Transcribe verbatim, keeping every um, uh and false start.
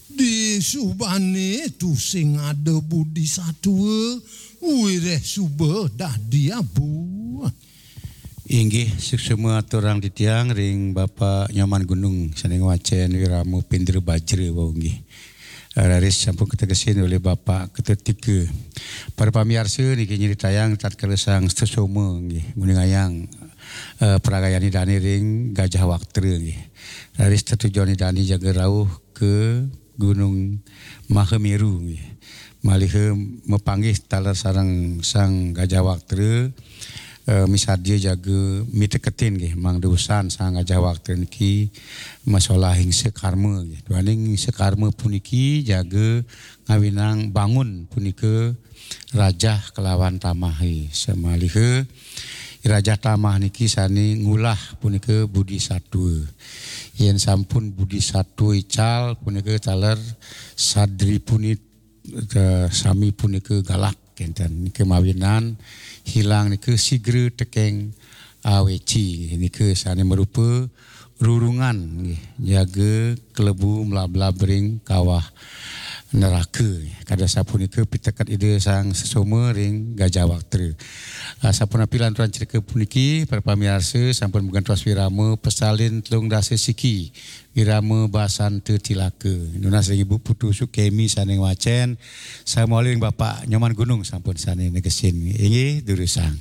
Di subane tusing ada budi satua, wireh suba dadi abu. Inggih, suksma aturang titiang ring Bapak Nyoman Gunung sane ngwacen Wirama Pindra Bajra wau nggih. Raris sampun kategesin olih Bapak Ketetika. Para pamiarsa niki nyritayang tatkala Sang Sesoma nggih nguningayang eh, paragayan Ida dane ring Gajah Waktra nggih. Raris tetujon Ida dane jaga rauh ke Gunung Mahameru nggih. Maliha mapanggih taler sareng Sang Gajah Waktra, eh, misadia jaga miteketin nggih, mangda usan Sang Gajah Waktra niki masolah hingsa karma nggih. Duaning hingsa karma puniki jaga ngawinang bangun punika rajah kalawan tamahe. Samaliha rajah tamah niki sane ngulah punika budi satua. Yen sampun budi satua ical punika taler sadri puni-, eh, sami punika galak kenten. Nika mawinan hilang nika sigra tekeng aweci. Nika sane marupa rurungan nggih, jaga kelebu mlablab ring kawah neraka. Kada sapunika piteket Ida Sang Sesoma ring Gajah Waktra. Ah, sapunapi lanturan cerita puniki, para pamiarsa sampun magentos wirama pesalin telung dasa siki, wirama basanta tilaka. Nunas ring Ibu Putu Sukemi sane ngwacen, saha malih ring Bapak Nyoman Gunung sampun sane negesin. Inggih, durusang.